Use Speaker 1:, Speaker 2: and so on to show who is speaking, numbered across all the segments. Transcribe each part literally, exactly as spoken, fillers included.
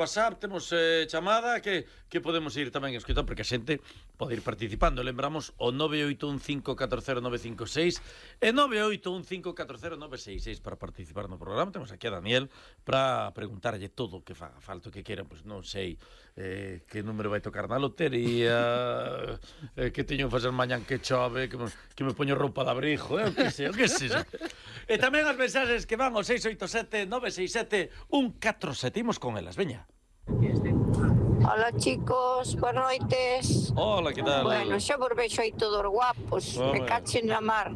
Speaker 1: WhatsApp, temos eh, chamada que, que podemos ir tamén escoitando, porque a xente pode ir participando. Lembramos o nove oito un cinco catro cero nove cinco seis e nove oito un cinco catro cero nove seis seis para participar no programa. Temos aquí a Daniel para preguntarlle todo o que faga falta, que queran, pois non sei eh, que número vai tocar na lotería, eh, que teño que facer mañán que chove, que me, que me poño roupa de abrigo, eh, o que sei, o que sei. E tamén as mensaxes que van ao seis oito sete nove seis sete un catro sete. Imos con elas, veña.
Speaker 2: Hola chicos, boas noites.
Speaker 1: Hola, que tal?
Speaker 2: Bueno, xa vos vexo aí todos guapos,
Speaker 1: Home.
Speaker 2: me cachen na mar.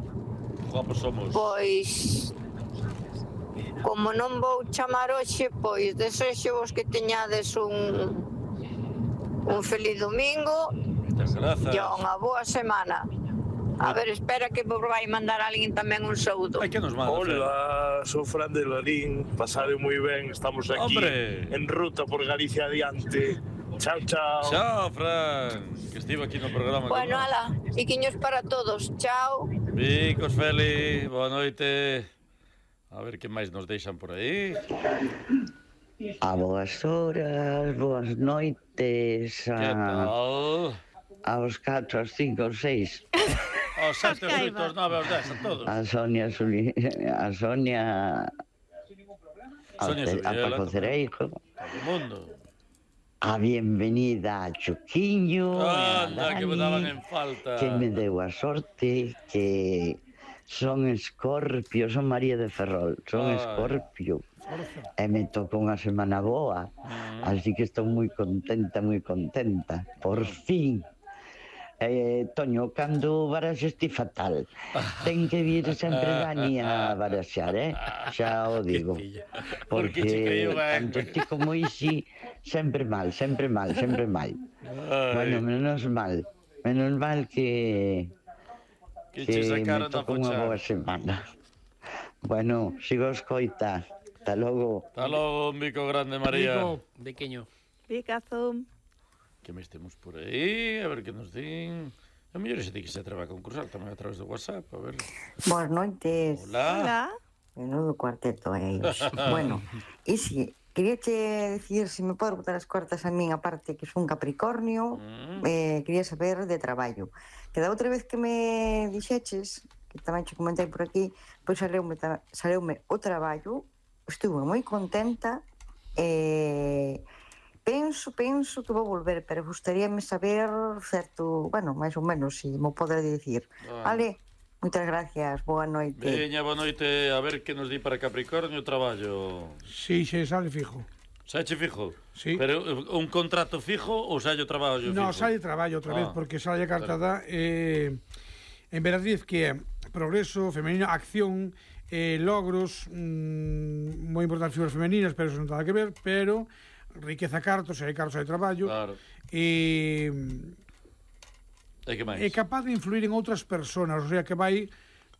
Speaker 1: Guapos somos.
Speaker 2: Pois, como non vou chamar hoxe, pois desexo vos que teñades un un feliz domingo
Speaker 1: Moitas grazas.
Speaker 2: e unha boa semana. A ver, espera que vos vai mandar alguén tamén un saúdo.
Speaker 1: Ai, que nos manda, Fran?
Speaker 3: Hola, sou Fran de Larín, pasade moi ben, estamos aquí
Speaker 1: Hombre.
Speaker 3: en ruta por Galicia adiante. Chao, chao.
Speaker 1: Chao, Fran, que estivo aquí no programa.
Speaker 2: Bueno,
Speaker 1: con nós.
Speaker 2: ala, iquiños para todos. Chao.
Speaker 1: Vicos, Feli, boa noite. A ver que máis nos deixan por aí.
Speaker 4: A boas horas, boas noites,
Speaker 1: Que
Speaker 4: a,
Speaker 1: tal?
Speaker 4: aos catro, aos cinco, aos seis.
Speaker 1: Aos sete, aos oito, aos nove, aos dez, a todos.
Speaker 4: A Sonia, Suli, a Sonia, a,
Speaker 1: Sonia
Speaker 4: Ce- a
Speaker 1: Subiela,
Speaker 4: Paco Cereijo,
Speaker 1: Todo o mundo.
Speaker 4: a bienvenida a Chuquiño, e a
Speaker 1: Anda, que me daban
Speaker 4: Dani,
Speaker 1: en falta.
Speaker 4: que me deu a sorte que son Escorpio, son María de Ferrol, son
Speaker 1: Ai.
Speaker 4: Escorpio. E me tocou unha semana boa,
Speaker 1: Mm.
Speaker 4: así que estou moi contenta, moi contenta. Por fin. Eh, Toño, cando baraxes ti fatal, ten que vir sempre Dani a baraxar, eh? Xa o digo.
Speaker 1: Que tilla. Porque che
Speaker 4: Porque
Speaker 1: caiu ben.
Speaker 4: tanto ti como Isi, sempre mal, sempre mal, sempre mal.
Speaker 1: Ai,
Speaker 4: Bueno, menos mal. Menos mal que...
Speaker 1: que che sacaron
Speaker 4: me
Speaker 1: da
Speaker 4: tocou unha boa
Speaker 1: fochada.
Speaker 4: semana. Bueno, sigo escoita. Hasta logo.
Speaker 1: Hasta logo, un bico grande, María.
Speaker 5: Vico, pequeño.
Speaker 6: Picazo.
Speaker 1: Que me estemos por aí, a ver que nos din. A mellor xe di que se atreve a concursar tamén a través do WhatsApp, a ver.
Speaker 7: Boas noites.
Speaker 1: Hola.
Speaker 6: Hola.
Speaker 7: Menudo cuarteto é iso. Bueno, e si, quería che dicir se me podes botar as cartas a min, aparte que son Capricornio,
Speaker 1: Mm.
Speaker 7: eh, quería saber de traballo. Que da outra vez que me dixeches, que tamén che comentei por aquí, pois saleume, ta- saleume o traballo, estuve moi contenta, e penso, penso que vou volver, pero gustaríame saber certo, bueno, máis ou menos, se mo podes dicir.
Speaker 1: Ah.
Speaker 7: Vale, moitas gracias, boa noite.
Speaker 1: Veña, boa noite, a ver que nos di para Capricornio o traballo.
Speaker 5: Sí, xe sale fijo.
Speaker 1: Sache fijo?
Speaker 5: Sí.
Speaker 1: Pero eh, un contrato fijo ou salle o traballo fijo?
Speaker 5: No, sale traballo outra vez,
Speaker 1: Ah,
Speaker 5: porque sale a carta da eh, en Veradiz que é progreso femenino, acción, eh, logros, mm, moi importantes figuras femeninas, pero eso non ten nada que ver, pero riqueza cartos, hai cartos, hai traballo,
Speaker 1: Claro.
Speaker 5: e
Speaker 1: E que máis?
Speaker 5: é capaz de influir en outras persoas, o sea que vai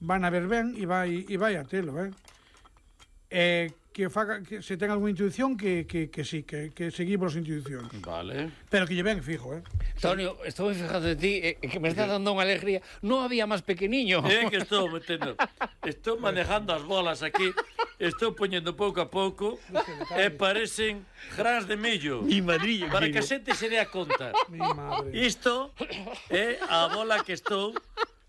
Speaker 5: van a ver ben e vai e vai a telo, eh? Eh, que faga que se ten algunha intuición que, que, que sí, que, que seguimos as intuicións.
Speaker 1: Vale.
Speaker 5: Pero que lle ben fijo, eh?
Speaker 8: Tonio, estou fijado de ti, eh, que me está dando unha alegría. Non había máis pequeniño.
Speaker 1: É que estou metendo. Estou manejando as bolas aquí. Estou poñendo pouco a pouco e parecen grans de millo.
Speaker 8: Mi madrilla.
Speaker 1: Para que a xente se dea conta.
Speaker 5: Mi madre.
Speaker 1: Isto é a bola que estou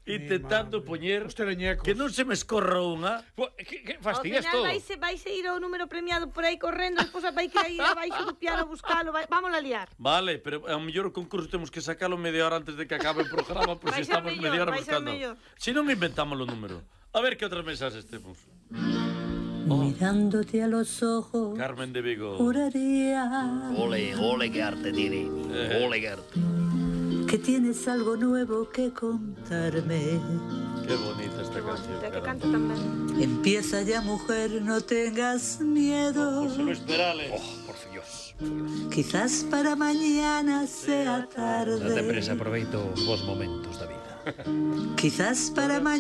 Speaker 1: intentando
Speaker 5: madre.
Speaker 1: poñer
Speaker 5: Os teleñecos.
Speaker 1: que non se me escorra unha.
Speaker 8: Que, que
Speaker 6: Ao
Speaker 8: fastidias
Speaker 6: final
Speaker 8: todo.
Speaker 6: vaise, vaise ir ao número premiado por aí correndo, despois vai que ir abaixo do piano a buscalo, vai, vamos a liar.
Speaker 1: Vale, pero ao mellor o concurso temos que sacalo media hora antes de que acabe o programa, por
Speaker 6: Vai
Speaker 1: si
Speaker 6: ser
Speaker 1: estamos
Speaker 6: mellor,
Speaker 1: media hora
Speaker 6: vai ser
Speaker 1: buscando.
Speaker 6: mellor.
Speaker 1: Si non inventamos o número. A ver que outras mensaxes temos.
Speaker 9: Mirándote a los ojos,
Speaker 1: Carmen de Vigo.
Speaker 9: juraría
Speaker 10: Ole, ole que arte tiene.
Speaker 1: Eh.
Speaker 10: Ole que arte.
Speaker 9: que tienes algo nuevo que contarme.
Speaker 1: Qué bonita esta canción.
Speaker 6: Que
Speaker 1: Carmen.
Speaker 6: canta tamén.
Speaker 9: Empieza ya, mujer, no tengas miedo.
Speaker 1: José Luis Perales.
Speaker 10: Por Dios.
Speaker 9: Quizás para mañana sea
Speaker 10: Date
Speaker 9: tarde.
Speaker 10: presa, aproveito os vos momentos da vida.
Speaker 9: Quizás para mañana